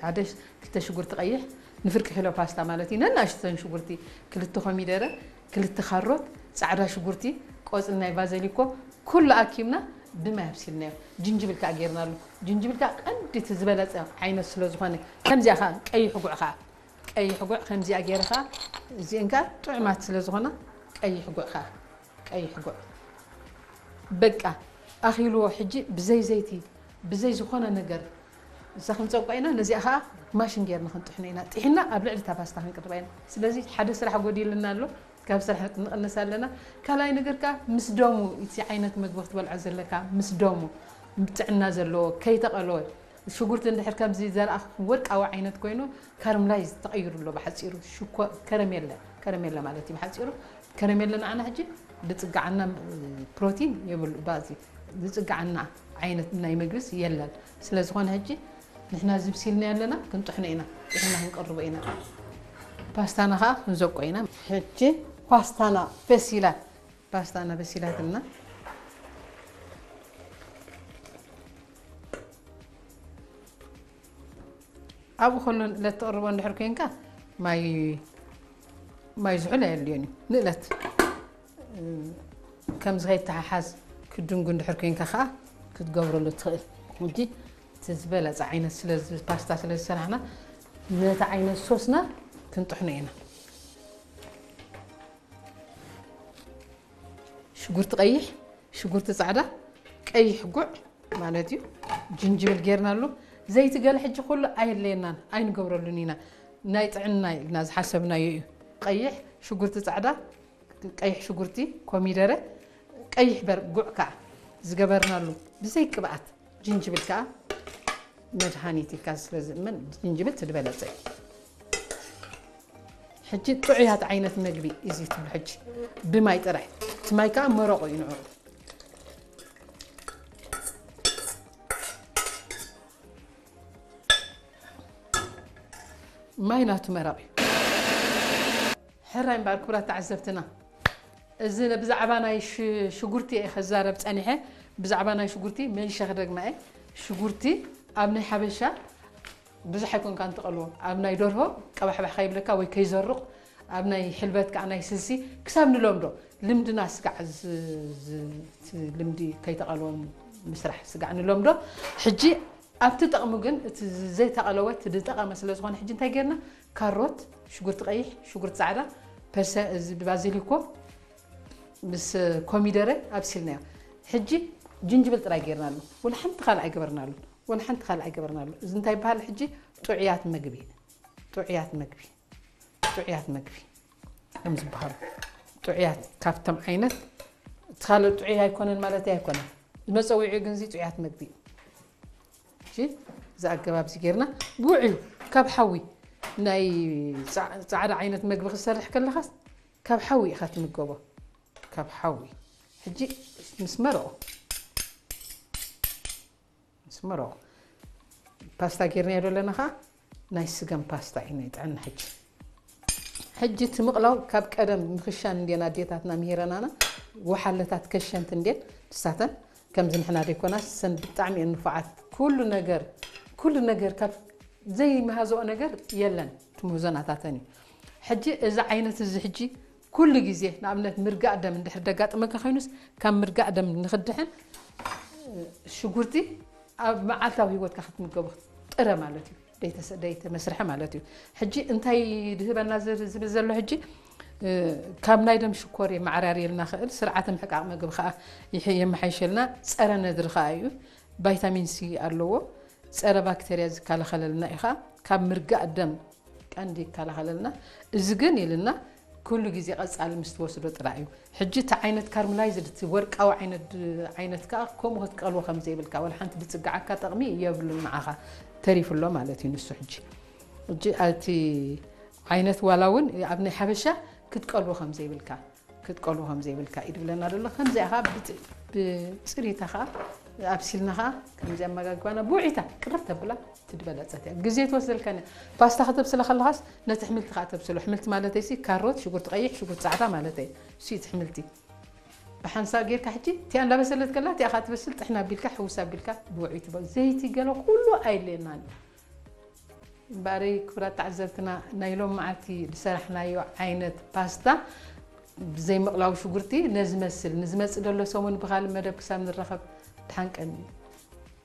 ሓደ ሽ-፣ ክልተ ሽጉርቲ ቀይሕ፣ ንፍርቂ ኪሎ ፓስታ ማለት እዩ። ነናእሽተን ሽጉርቲ፣ ክልተ ኮሚደረ፣ ክልተ ካሮት፣ ጻዕዳ ሽጉርቲ፣ ቆጽሊ ናይ ባዘሊኮ፣ ኩሉ ኣኪብና ብማይ ኣብሲልናዮ። ጅንጅብል ከኣ ጌርናሉ። ጅንጅብል ከኣ ቀንዲ እቲ ዝበለጸ ዓይነት ስለ ዝኾነ፣ ከምዚኣ ከኣ ቀይሕ ጉዕ ከኣ፣ ቀይሕ ጉዕ ከምዚኣ ጌረ ከኣ፣ እዚአን ከኣ ጥዑማት ስለ ዝኾና፣ ቀይሕ ጉዕ ከኣ፣ ቀይሕ ጉዕ። በቃ፣ ኣኺልዎ። ሕጂ ብዘይ ዘይቲ፣ ብዘይ ዝኾነ ነገር እዛ ክንጸብቋ ኢና። ነዚኣ ከኣ ማሽን ጌርና ክንጥሕኖ ኢና። ጥሒና ኣብ ልዕሊ እታ ፓስታ ክንቅርባ ኢና። ስለዚ ሓደ ስራሕ ጎዲሉና ኣሎ። ካብ ስራሕ ንቕንስ ኣለና። ካልኣይ ነገር ከኣ ምስ ደሙ፣ እቲ ዓይነት መግቢ ክትበልዖ ዘለካ ምስ ደሙ፣ ጥዕና ዘለዎ፣ ከይተቐለወ፣ ሽጉርቲ እንድሕር ከምዚ ዘርኣ ወርቃዊ ዓይነት ኮይኑ፣ ካርምላይዝ ተቐይሩ ኣሎ ብሓጺሩ። ሽኮ-፣ ከረሜለ፣ ከረሜለ ማለት እዩ ብሓጺሩ። ከረሜለ ንዓና ሕጂ ዝጽግዓና፣ እ፣ ፕሮቲን የብሉ፣ ባዚ ዝጽግዓና ዓይነት ናይ ምግብስ የለን። ስለ ዝኾነ ሕጂ ንሕና እዚ ብሲልና ኣለና፣ ክንጥሕኖ ኢና፣ ጥሒና ክንቀርቦ ኢና። ፓስታና ከኣ ክንዘቆ ኢና። ሕጂ ፓስታና በሲላ፣ ፓስታና በሲላትና። ኣብኡ ከሎ ንእለት ትቕርቦ እንድሕር ኮይንካ ማይ፣ ማይ ዝሑል ኣየድልዮን እዩ። ንእለት፣ እ፣ ከምዚ ከይተሓሓዝ ክድንጉ እንድሕር ኮይንካ ከኣ ክትገብረሉ ትኽእል። ሕጂ እቲ ዝበለጸ ዓይነት ስለ ዝ-፣ ፓስታ ስለ ዝሰራሕና ነቲ ዓይነት ሶስና ክንጥሕኖ ኢና። ሽጉርቲ ቀይሕ፣ ሽጉርቲ ጻዕዳ፣ ቀይሕ ጉዕ ማለት እዩ። ጅንጅብል ጌርናሉ። ዘይቲ ገለ ሕጂ ኩሉ ኣየድለየናን፣ ኣይንገብረሉን ኢና። ናይ ጥዕና ኢልና ዝሓሰብናዮ እዩ። ቀይሕ፣ ሽጉርቲ ጻዕዳ፣ ቀይሕ ሽጉርቲ፣ ኮሚደረ፣ ቀይሕ በር-፣ ጉዕ ከኣ ዝገበርናሉ ብዘይ ቅብኣት። ጅንጅብል ከኣ መድሃኒት ኢልካ ስለ ዝእመን፣ ጅንጅብል እቲ ዝበለጸ እዩ። ሕጂ ጥዑያት ዓይነት መግቢ እዚ ትብሉ ሕጂ ብማይ ጥራይ። እቲ ማይ ከኣ መረቑ እዩ ንዕኡ። ማይ ናቱ መረቕ እዩ። ሕራይ እምበኣር ክቡራት ተዓዘብትና፣ እዚ ብዛዕባ ናይ ሽ-፣ ሽጉርቲ እየ ከዛረብ ጸኒሐ። ብዛዕባ ናይ ሽጉርቲ መሊሸ ክደግማ እየ። ሽጉርቲ ኣብ ናይ ሓበሻ ብዙሕ ኣይኮንካን ትቐልዎ። ኣብ ናይ ደርሆ ቀባሕባሕ ከይብለካ ወይ ከይዘርቕ፣ ኣብ ናይ ሕልበት ከኣ ናይ ስልሲ ክሳብ ንለምዶ ልምድና ስጋዕ ዝ-፣ ዝ-፣ እቲ ልምዲ ከይተቐልዎ ምስራሕ ስጋዕ ንለምዶ። ሕጂ ኣብቲ ጠቕሙ ግን እቲ ዘይተቐለወ እቲ ዝጠቐመ ስለ ዝኾነ ሕጂ እንታይ ጌርና? ካሮት፣ ሽጉርቲ ቀይሕ፣ ሽጉርቲ ጻዕዳ፣ ፐርሰ-፣ እዚ ባዚሊኮ ምስ ኮሚደረ ኣብሲልናዮ። ሕጂ ጅንጅብል ጥራይ ጌርናሉ። ወላ ሓንቲ ካልእ ኣይገበርናሉን። ወላ ሓንቲ ካልእ ኣይገበርናሉ። እዚ እንታይ ይበሃል ሕጂ? ጥዑያት መግቢ። ጥዑያት መግቢ። ጥዑያት መግቢ እዮም ዝበሃሉ። ጥዑያት ካብቶም ዓይነት፣ እቲ ካልእ ጥዑይ ኣይኮነን ማለተይ ኣይኮነን። መጸውዒኡ ግን እዚ ጥዑያት መግቢ እዩ። እሺ፣ እዚ ኣገባብ እዚ ጌርና ውዕዩ ካብ ሓዊ ናይ ጻ-፣ ጻዕዳ ዓይነት መግቢ ክትሰርሕ ከለኻስ ካብ ሓዊ ኢኻ ትምገቦ። ካብ ሓዊ። ሕጂ ምስ መረቑ፣ ምስ መረቑ ፓስታ ጌርናዮ ዘለና ኸዓ ናይ ስገም ፓስታ እዩ ናይ ጥዕና። ሕጂ፣ ሕጂ እቲ ምቕላው ካብ ቀደም ምኽሻን እንድየን ኣዴታትና ምሂረናና፣ ወሓለታት ከሸንት እንድየን ንሳተን። ከምዚ ንሕና ደይኮናስ፣ ሰን ብጣዕሚ እየን ንፉዓት። ኩሉ ነገር፣ ኩሉ ነገር ካብ ዘይመሃዝኦ ነገር የለን፣ እቲ ምህዞ ናታተን እዩ። ሕጂ እዚ ዓይነት እዚ ሕጂ ኩሉ ግዜ ንኣብነት ምርጋእ ደም እንድሕር ደጋጥመካ ኮይኑስ፣ ካብ ምርጋእ ደም ንኽድሕን ሽጉርቲ ኣብ መዓልታዊ ህይወትካ ክትምገቦ ጥረ ማለት እዩ። ደይተሰ-፣ ደይተመስርሐ ማለት እዩ። ሕጂ እንታይ ድህበና ዝ-፣ ዝብል ዘሎ ሕጂ፣ እ፣ ካብ ናይ ደም ሽኮር የመዓራርየልና ክእል፣ ስርዓተ ምሕቃቕ ምግቢ ከዓ ይሕ-፣ የመሓይሸልና፣ ጸረ ነድሪ ከዓ እዩ። ቫይታሚን ሲ ኣለዎ። ጸረ ባክተርያ ዝከላኸለልና እዩ ከዓ። ካብ ምርጋእ ደም ቀንዲ ይከላኸለልና። እዚ ግን ኢልና ኩሉ ግዜ ቀጻሊ ምስ ትወስዶ ጥራይ እዩ። ሕጂ እቲ ዓይነት ካርምላይዝድ፣ እቲ ወርቃዊ ዓይነት፣ ዓይነት ከኣ ከምኡ ክትቀልዎ ከም ዘይብልካ፣ ወላ ሓንቲ ድጽግዓካ ጠቕሚ የብሉን፣ ንዓኻ ተሪፉ ኣሎ ማለት እዩ ንሱ። ሕጂ፣ ሕጂ እቲ ዓይነት ዋላ እውን ኣብ ናይ ሓበሻ ክትቀልዎ ከም ዘይብልካ፣ ክትቀልዎ ከም ዘይብልካ እዩ ድብለና ዘሎ። ከምዚኣ ኸኣ ብጽ-፣ ብጽሪታ ኸኣ ኣብሲልና ኸኣ ከምዚ ኣመጋግባና ብውዒታ ቅርብ ተብላ እቲ ዝበለጸት እያ። ግዜ ትወስደልካን እያ። ፓስታ ከተብስለ ከለኻስ ነቲ ኣሕምልቲ ኸኣ ተብስሎ። ኣሕምልቲ ማለተይሲ ካሮት፣ ሽጉርቲ ቀይሕ፣ ሽጉርቲ ጻዕዳ ማለተይ። እሱ እዩ እቲ ኣሕምልቲ። ብሓንሳብ ጌርካ ሕጂ እቲኣ እንዳበሰለት ከላ እቲኣ ኸኣ ትበስል፣ ጥሕና ኣቢልካ፣ ሕውስ ኣቢልካ ብውዒ ትበ-፣ ዘይቲ ገለ ኩሉ ኣየድልየናን እዩ። እምበኣረይ ክቡራት ተዓዘብትና፣ ናይ ሎም መዓልቲ ዝሰራሕናዮ ዓይነት ፓስታ ብዘይ ምቕላው ሽጉርቲ ነዚ መስል። ንዝመጽእ ደሎ ሰሙን ብኻልእ መደብ ክሳብ ንራኸብ፣ ድሓን ቀንዩ።